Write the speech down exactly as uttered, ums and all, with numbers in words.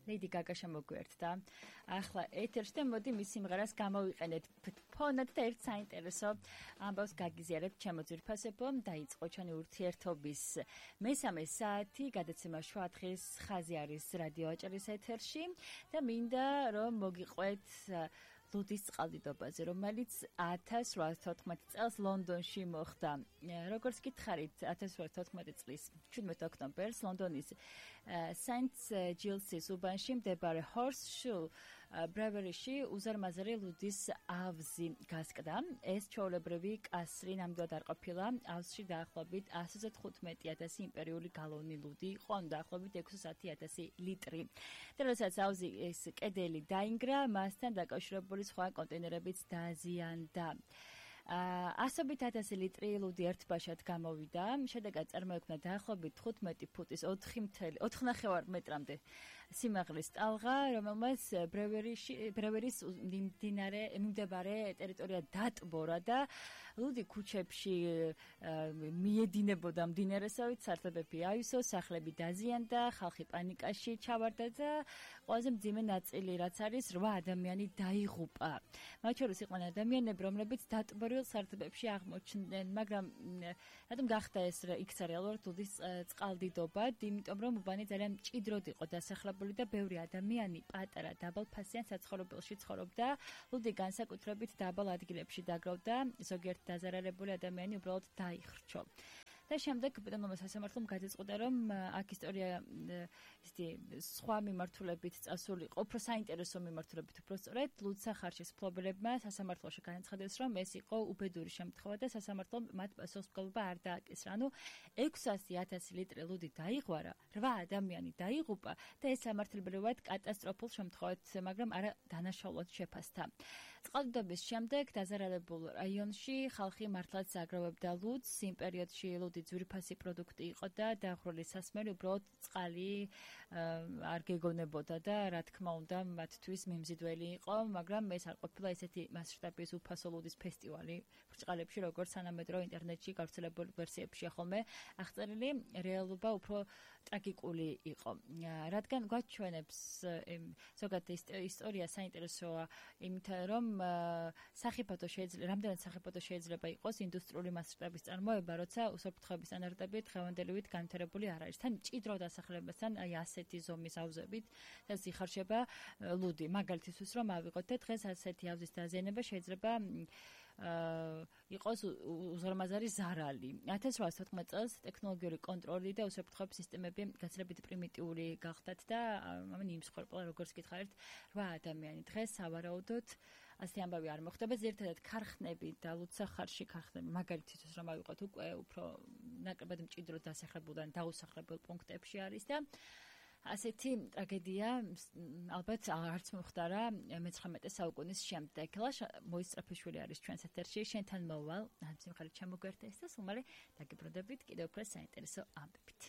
Lady Gaga შემოგვიერთდა. ახლა ეთერში და მოდი მის სიმღერას გამოვიყენეთ ფონად და ერთ საინტერესო ამბავს გაგიზიარებთ ჩემო ძვირფასებო. დაიწყო ჩვენი ურთიერთობის მესამე საათი, გადაცემა შუა დღის ხაზი არის რადიო აჭარის ეთერში და მინდა რომ მოგიყვეთ ლუდის წყალდიდობაზე, რომელიც ათას რვაას თოთხმეტი წელს ლონდონში მოხდა. როგორც გითხარით, ათას რვაას თოთხმეტი წლის შვიდმეტი ოქტომბერს ლონდონის სენტ ჯილსის უბანში მდებარე ჰორსშულ ბრევერიში უზარმაზარი ლუდის ავზი გასკდა. ეს ჩვეულებრივი კასრი ნამდვილად არ ყოფილა. ავზში დაახლოებით ასზე თხუთმეტი ათასი იმპერიული გალონი ლუდი იყო, ანუ დაახლოებით ექვსმოცდაათი ათასი ლიტრი. და როდესაც ავზი ეს კედელი დაინგრა, მასთან დაკავშირებული სხვა კონტეინერებიც დაზიანდა. ასობით ათასი ლიტრი ლუდი ერთბაშად გამოვიდა. შედეგად წარმოიქმნა დაახლოებით თხუთმეტი ფუტის ოთხ ნახევარ მეტრამდე სიმაღლის ტალღა, რომელმაც ბრევერის მიმდინარე მიმდებარე ტერიტორია დატბორა და ლუდი ქუჩებში მიედინებოდა მდინარესავით, სარდაფები აივსო, სახლები დაზიანდა, ხალხი პანიკაში ჩავარდა და ყველაზე მძიმე ნაწილი რაც არის რვა ადამიანი დაიღუპა. მათ შორის იყვნენ ადამიანები, რომლებიც დატბორილ სარდაფებში აღმოჩნდნენ, მაგრამ რატომ გახდა ეს იქცა რეალურად ლუდის წყალდიდობა? იმიტომ რომ უბანი ძალიან მჭიდროდ იყო დასახლებული და ბევრი ადამიანი პატარა დაბალფასიან საცხოვრებელში ცხოვრობდა. ლუდი განსაკუთრებით დაბალ ადგილებში დაგროვდა, ზოგიერთ დაზარალებული ადამიანი უბრალოდ დაიხრჩო. და შემდეგ ბატონმა სასამართლომ გადაწყვიტა, რომ აქ ისტორია ისეთი სხვა მიმართულებით წასულიყო, უფრო საინტერესო მიმართულებით უფრო სწორედ ლუდსახარშის მფლობელებმა სასამართლოში განაცხადეს, რომ ეს იყო უბედური შემთხვევა და სასამართლომ მათ პასუხისმგებლობა არ დააკისრა. ანუ ექვსასი ათასი ლიტრი ლუდი დაიღვარა, რვა ადამიანი დაიღუპა და ეს სამართლებრივად კატასტროფულ შემთხვევით, მაგრამ არა დანაშაულად შეფასდა. წყალდიდობის შემდეგ დაზარალებულ რაიონში ხალხი მართლაც აგროვებდა ლუდს. იმ პერიოდში ლუდი ძვირფასი პროდუქტი იყო და დახრული სასმელი უბრალოდ წყალი არ გეგონებოდა და რა თქმა უნდა მათთვის მიმზიდველი იყო, მაგრამ ეს არ ყოფილა ესეთი მასშტაბის უფასო ლუდის ფესტივალი ბრჭყალებში, როგორც სანამედროვე ინტერნეტში გავრცელებულ ვერსიებშია ხოლმე აღწერილი. რეალობა უფრო ტრაგიკული იყო, რადგან გვაჩვენებს ზოგადად ისტორია საინტერესოა იმიტომ, რომ სახიფათო შეიძლება რამდენად სახიფათო შეიძლება იყოს ინდუსტრიული მასშტაბის წარმოება, როცა უსაფრთხოების სტანდარტები დღევანდელივით განვითარებული არ არის. თან მჭიდრო დასახლებასთან აი ასეთი ზომის ავზებით და იხარშება ლუდი. მაგალითისთვის რომ ავიღოთ და დღეს ასეთი ავზის დაზიანება შეიძლება იყოს უზარმაზარი ზარალი. ათას რვაას თოთხმეტი წელს ტექნოლოგიური კონტროლი და უსაფრთხოების სისტემები გაცილებით პრიმიტიული გახდათ და ამან იმსხვერპლა, როგორც გითხარით, რვა ადამიანი. დღეს სავარაუდოდ ასე ამბავი არ მოხდება. ზერთადად ქარხნები და ლუდსახარში ქარხნები, მაგალითისთვის რომ ავიღოთ უკვე უფრო ნაკლებად მჭიდროდ დასახლებულ და დაუსახლებელ პუნქტებში არის და ასეთი ტრაგედია ალბათ არც მომხდარა მეცხრამეტე საუკუნის შემდეგ. ლაშა მოისწრაფიშვილი არის ჩვენს ეთერში, შენთან მოვალ, ამ სიმღერით ჩამოგვერთა ეს და სულ მალე დაგიბრუნდებით კიდევ უფრო საინტერესო ამბებით.